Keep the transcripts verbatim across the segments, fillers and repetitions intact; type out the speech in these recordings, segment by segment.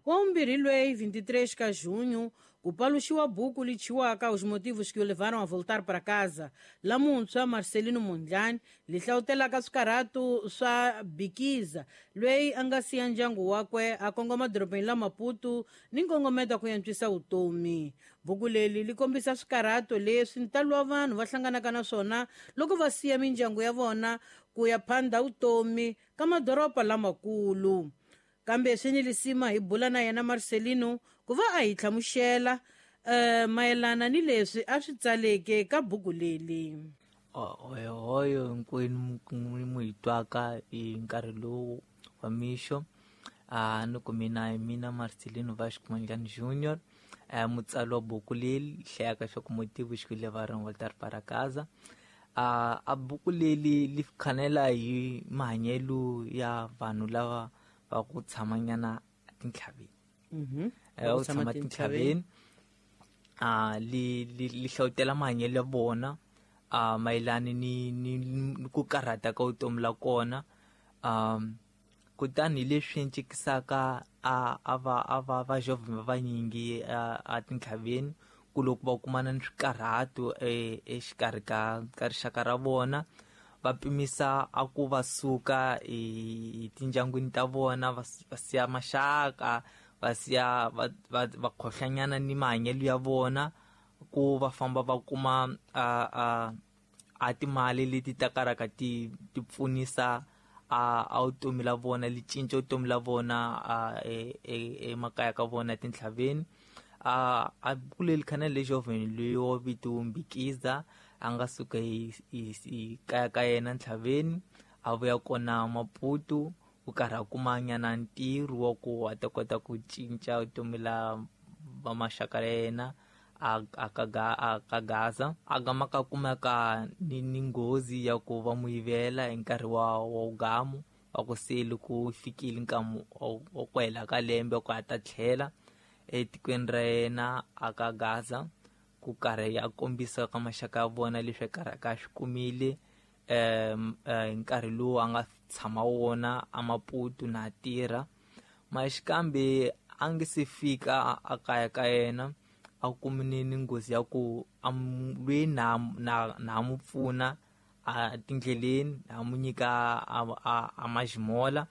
Wa vumbirhi lweyi vinte e três ka junho ku paluxiwa buku lichiwaka Os Motivos que o Levaram a Voltar para Casa la muntshwa Marcelino Mondlane, li hlawutelaka swikarhatu swa Bikiza lweyi a nga siya ndyangu wakwe a kongoma dorobeni la Maputo ni nkongometo ku antswisa vutomi. Buku leri li kombisa swikarhato leswi ntalo wa vanhu va hlanganaka na swona loko va siya mindyangu ya vona ku ya phanda vutomi ka madoroba lamakulu. Kambe swi ni lisima hi bula na yena Marcelino ku va a hi hlamusela um mayelana ni leswi a swi tsaleke ka buku leli. Hoyohoyo hinkwenu mu hi twaka hi nkarhi lowu wa mixo. A ni ku mina hi mina Marcelino Vasco Mondlane Junior, mutsari wa buku leyi hlayaka swa ku Motivos que Levaram Voltar para Casa. A a buku leli li khanela hi mahanyelo ya vanhu lava va ku tshamanyana tintlhaveni. Mhm. Va ku tshama tintlhaveni. A li li li hlawutela mahanyelo ya vona a mayelana ni ni ni ku karhata ka vutomi la kona. um kutani hi leswi ncikisaka a a va a va va va vanyingi a a tintlhaveni ku loko va kumana ni swikarhato exikarhi ka ka rixaka ra vona, va pimisa a ku va suka hi tindyangwini ta vona, va va siya maxaka, va siya va va va khohlanyana ni mahanyelo ya vona ku va famba va kuma a a a timali leti ta karaka ti ti pfunisa a a vutomi la vona, li cinca vutomi la vona a emakaya ka vona etintlhaveni. A a buku leri khanele lexovheni leyi wa vito Mbikiza a nga suka hi hi kaya ka yena ntlhaveni a vuya kona Maputo ku karhi a kuma nyana ntirho wa ku a ta kota ku cinca vutomi la va maxaka ya yena a a ka a ka Gaza. A gama ka kumeka ni ni nghozi ya ku va mu yivela hi nkarhi wa wa gamu wa ku se loko fikile nkamu wa ku hela ka lembe ku a ta tlhela etikweni ra yena a ka Gaza ku karhi a kombisa ka maxaka ya vona leswi a karhi a swi kumile um hi nkarhi lowu a nga tshama wona a Maputo na tirha. Maxikambe a nge se fika a kaya ka yena a kumile ni nghozi ya ku a lweyi na na na mu pfuna a tindleleni, a mu nyika a a a majimola,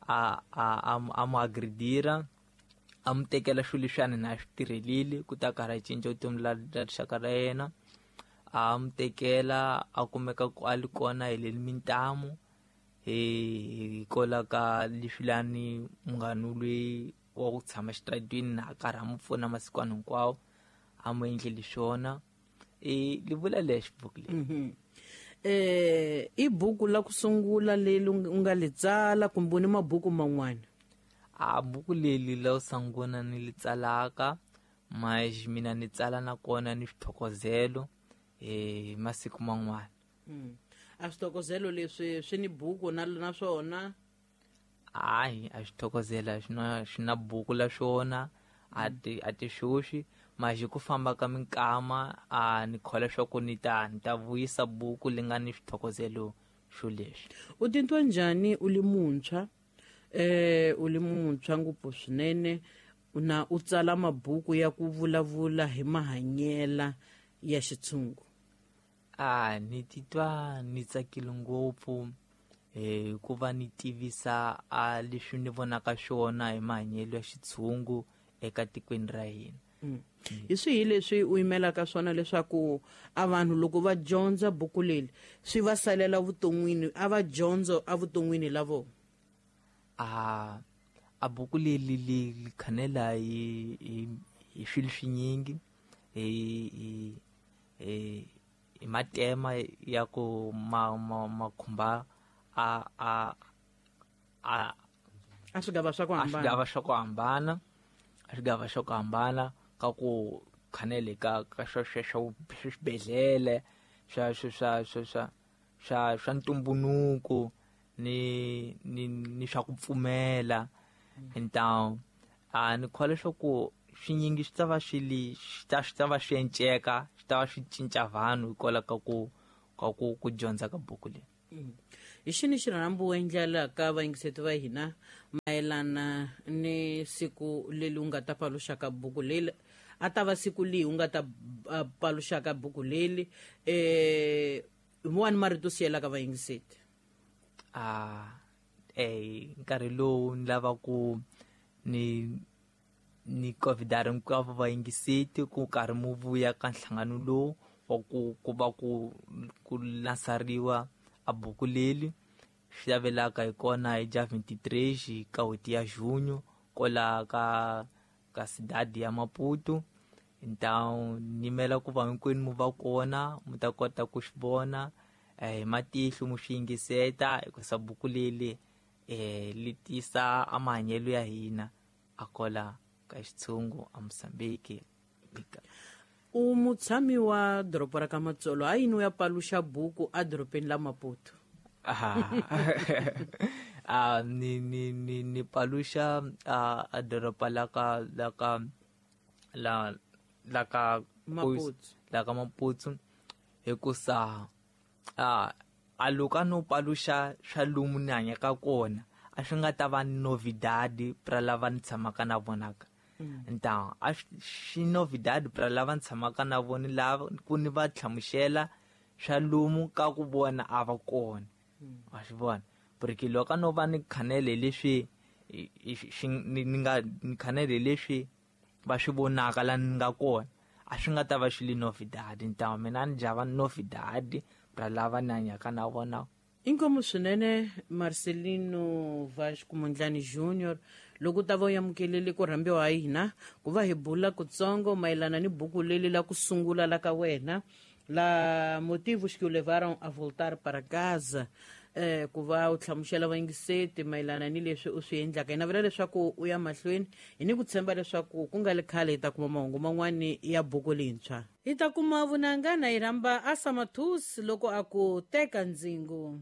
a a a mu agredira, a mu tekela swilo leswiyani na swi tirhelile ku ta karhi a cinca vutomi la la rixaka ra yena. A mu tekela a kumeka ku a li kona hi le mintamu hi kola ka leswilani munghana loyi wa ku tshama xitaratini na a karhi a mu pfuna masikwana hinkwawo a mu endleli swona. I li vula lexi buku leyi. Mhm. eh i buku la ku sungula leri u nga li tsala kumbe ni mabuku man'wana? A buku leli la sungula ni li tsalaka, mas mina ni tsala nakona ni swithokozelo hi masiku man'wana. Mm. A swithokozelo leswi swi ni buku na na swona? Hayi, a swithokozela swi na swi na buku la swona, a ti a ti xoxi. Mas hi ku famba ka minkama a ni kholwa swa ku ni ta ni ta vuyisa buku li nga ni swithokozelo xo leswi. U titwa njhani u li muntshwa, eh u li muntshwa ngopfu swinene, na u tsala mabuku ya ku vulavula hi mahanyela ya xitshungu? A ni titwa ni tsakile ngopfu hi ku va ni tivisa a leswi ni vonaka swona hi mahanyelo ya xitshungu eka tikweni ra hina. Mm. Hi swihi leswi u yimelaka swona leswaku a vanhu loko va dyondza buku leri swi va salela vuton'wini, a va dyondzo evuton'wini la vona? A a buku leri li li khanela hi hi hi swilo swinyingi, hi hi hi hi matema ya ku ma ma ma khumba a a a a swigava swa ku a hambana, swigava swa ku hambana, a swigava swa ku hambana ka ku khanele ka ka swa swa swa swibedhlele swa swa swa swa swa swa swa ntumbuluko ni ni ni swa ku pfumela. Ntawu a ni kholwa leswaku swinyingi swi ta va swi li swi ta swi ta va swi enceka, swi ta va swi cinca vanhu hikwalaho ka ku ka ku ku dyondza ka buku leyi. Hi xini xirhambo u endlelaka vayingiseti va hina mayelana ni siku leri u nga ta paluxaka buku leri, a ta va siku lihi u nga ta uh, paluxaka buku leri, eh wani marito siyelaka vayingiseti? Ah eh nkarhi lowu ni lava ku ni ni convidar hinkwavo vayingiseti ku karhi mu vuya ka nhlangano lowu wa ku ku va ku ku lansariwa a buku leri swi lavelaka hi kona hi dia vinte e três ka n'hweti ya junho kola ka ka cidade ya Maputo. Então nyimela ku va hinkwenu mu va kona, mu ta kota ku swi vona eh, hi matihlo, mu swi yingiseta, hikusa buku leri eh li tisa a mahanyelo ya hina a kola ka xitshungu a Mozambique. U mutshami wa doroba ra ka Matsolo, ha yini u ya paluxa buku edorobeni la Maputo? Ah, ah, ni ni ni ni paluxa a a doroba la ka la ka la la ka Maputo. La ka Maputo hikusa a a loko a no paluxa swa lomu ni hanyaka kona, a swi nga ta va novidade pra lava ni tshamaka na vona ka. Então a xi novidade pra lava ni tshamaka na vona, lava ku ni va hlamusela swa lomu ka ku vona a va kona, wa swi vona, porque loko a no va ni khanele leswi ni nga ni khanele leswi va swi vonaka la ni nga kona, a swi nga ta va xi li novidade. Então mina ni java novidade pra lava ni hanyaka na vona. Inkomu swinene, Marcelino Vasco Mondlane Junior, loko u ta va u amukelele ku rhambiwa hi hina ku va hi bula kutsongo mayelana ni buku leri la ku sungula la ka wena la Motivos que o Levaram a Voltar para Casa, eh ku va u hlamusela vayingiseti mayelana ni leswi u swi endlaka. Hi navela leswaku u ya mahlweni, hi ni ku tshemba leswaku ku nga le khale hi ta kuma mahungu man'wani ya buku leyintshwa. Hi ta kuma vunanga na hi rhamba Asamathus loko a ku teka ndzingo.